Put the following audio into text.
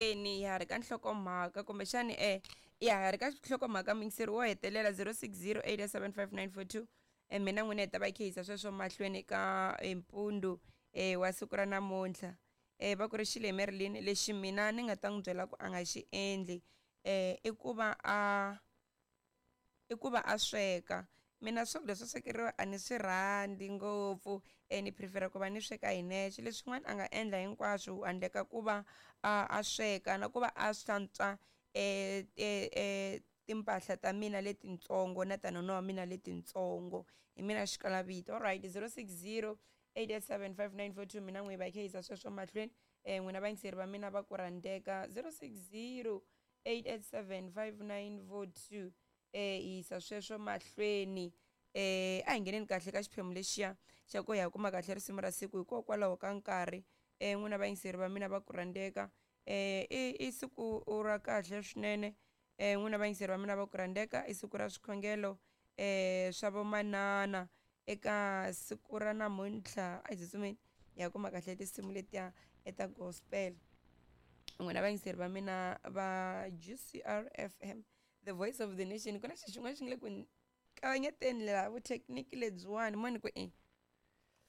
Ni ya ha ri ka nhlokomhaka kumbexani e ya ha ri ka nhlokomhaka muyingiseri wo hetelela 060 875 mina n'wina hi ta va hi khe yisa sweswo mahlweni ka mpundu wa siku ra namuntlha. Va ku ri xile Marilyn lexi mina ni nga ta n'wi byela ku a nga xi endli i ku va a i ku va a sweka. Mina swakudya swo swekeriwa a ni swi rhandzi ngopfu ni prefer-a ku va ni sweka hi nexe. Leswin'wana a nga endla hinkwaswo handle ka ku va a sweka na ku va a hlantswa timpahla ta mina letintsongo na ta nuna wa mina letintsongo. Hi mina xikalavito. Alright 060 887 5942 mina n'wi hi va hi kha hi yisa sweswo mahlweni. N'wina vayingiseri va mina va ku rhandzeka 060 887 5942 hi yisa sweswo mahlweni. A hi ngheneni kahle ka xiphemu lexiya xa ku ya kuma kahle risimu ra siku hikokwalaho ka nkarhi. N'wina vayingiseri va mina va ku rhandzeka i siku ra kahle swinene. N'wina vayingiseri va mina va ku rhandzeka i siku ra swikhongelo swa vomanana eka siku ra namuntlha. A hi tsutsumeni hi ya kuma kahle tinsimu letiya ta gospel. N'wina vayingiseri va mina va GCR FM, the voice of the nation. Ku na xilo xin'wana xi nga le ku kavanyeteni laha vuthekiniki lebyiwani mo ni ku i.